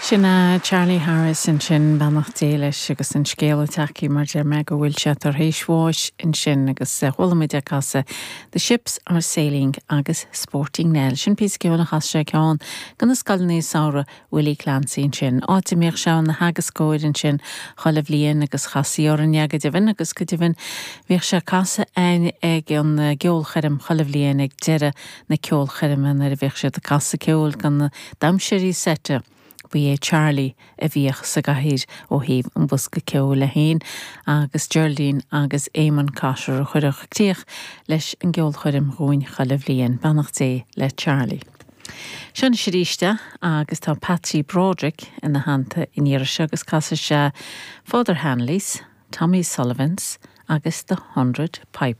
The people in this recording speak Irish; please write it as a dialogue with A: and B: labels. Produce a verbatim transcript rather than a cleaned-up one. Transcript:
A: Sin é Charlie Harris ansin beannacht Dé leis agus an scéal atá mar deir mé go bhfuil sé tar éis bháis ansin agus chuala muid ag casadh The Ships are Sailing agus Sporting Nell. Sin píosa ceoil a chas sé ceann do na scoileanna samhraidh Willie Clancy ansin. Áit a mbíodh sé ina theagascóir ansin chuile bhliain agus chasaí orainn go deimhin agus go deimhin bhíodh sé ag casadh ag an gceolchoirm chuile bhliain ag deireadh na ceolchoirme nuair a bhíodh siad ag casadh ceoil do na damhsóirí seite. Ba é Charlie a bhíodh sa gcathaoir ó thaobh an bhosca ceoil le héin agus Geraldine agus Eamon Cotter a chuirfeadh críoch leis an gceolchoirm dhúinn chuile bhliain beannacht Dé le Charlie. Seo arís agus tá Patsy Broderick ina theannta an iarraidh seo agus casfaidh sé Father Hanley's, Tommy Sullivan's agus the Hundred Piper.